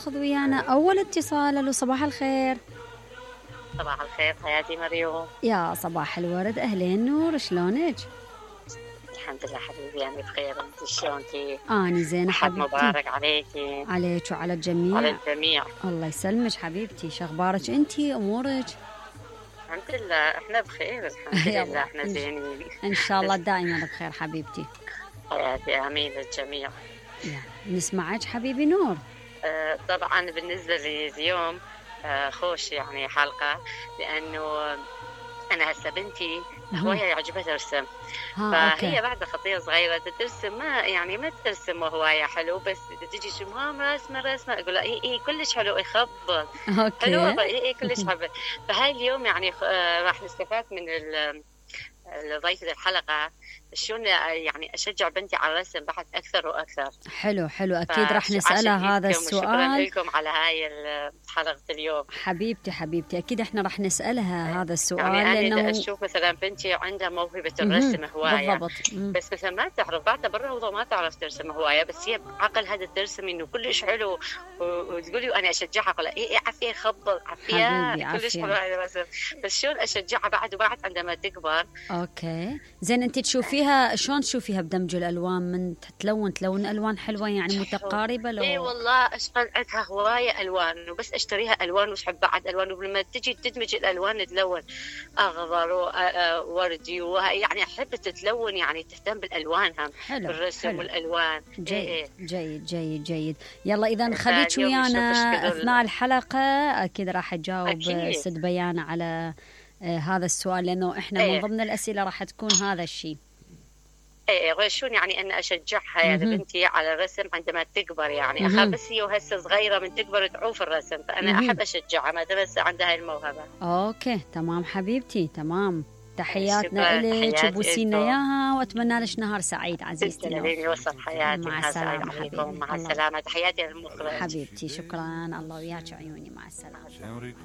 ناخذ ويانا أول اتصال. ألو صباح الخير. صباح الخير حياتي مريوم. يا صباح الورد، أهلين نور، شلونك؟ الحمد لله حبيبي، أنا بخير. أنت شلونك؟ أنا زينة حبيبتي. مبارك عليكي. عليك وعلى الجميع. على الجميع. الله يسلمك حبيبتي، شخبارك أنتي، أمورك؟ الحمد لله احنا بخير، الحمد لله احنا زينين إن شاء الله دائما بخير حبيبتي. حياتي آمين للجميع. نسمعك حبيبي نور. طبعا بالنسبة لي اليوم خوش يعني حلقة، لأنه أنا هسه بنتي هواية يعجبها ترسم، فهي بعد خطية صغيرة ترسم، ما ترسم هواية حلو، بس تجي شو ماما رسمة أقول لها إيه كلش حلو، يخبط حلو، إيه كلش حلو. فهاي اليوم يعني راح نستفاد من ضيفة الحلقة شلون يعني أشجع بنتي على الرسم بعد أكثر وأكثر. حلو أكيد راح نسألها هذا السؤال. شكرا لكم على هاي حلقة اليوم حبيبتي أكيد إحنا راح نسألها هذا السؤال، يعني أنا أشوف مثلا بنتي عندها موهبة الرسم هواية بالضبط. بس مثلا ما تعرف بعدها بالروضة ما تعرف ترسم هواية، بس هي بعقل هذا ترسم إنه كلش حلو، وتقولي وأنا أشجعها أقول إيه عافية خبط عافية كلش حلو هذا الرسم، بس شلون أشجعها بعد عندما تكبر. أوكي زين، أنت تشوفيها شلون تشوفيها بدمج الألوان؟ من تلون ألوان حلوة يعني متقاربة لو؟ إيه والله أشغل عندها هواية ألوان، وبس أشتريها ألوان وتحب بعد ألوان، ولما تجي تدمج الألوان تلون أخضر ووردي يعني أحب تتلون، يعني تهتم بالألوان هم بالرسم والألوان. جيد. يلا إذا خليك ويانا أثناء الحلقة، أكيد راح أجاوب سد بيانة على هذا السؤال، لأنه إحنا من ضمن الأسئلة راح تكون هذا الشيء. شون يعني أن أشجعها يعني بنتي على الرسم عندما تكبر، يعني أخاف بس هي وهسه صغيرة من تكبر تعوف الرسم، فأنا أحب أشجعها ما دام هسه عندها الموهبة. أوكي تمام حبيبتي، تمام. تحياتنا لك وبوسينا إياها، وأتمنى لك نهار سعيد عزيزتي. يوصل حياتي. مع السلامة حبيبي. مع السلامة، تحياتي للمخرج حبيبتي، شكرا، الله وياك عيوني، مع السلامة.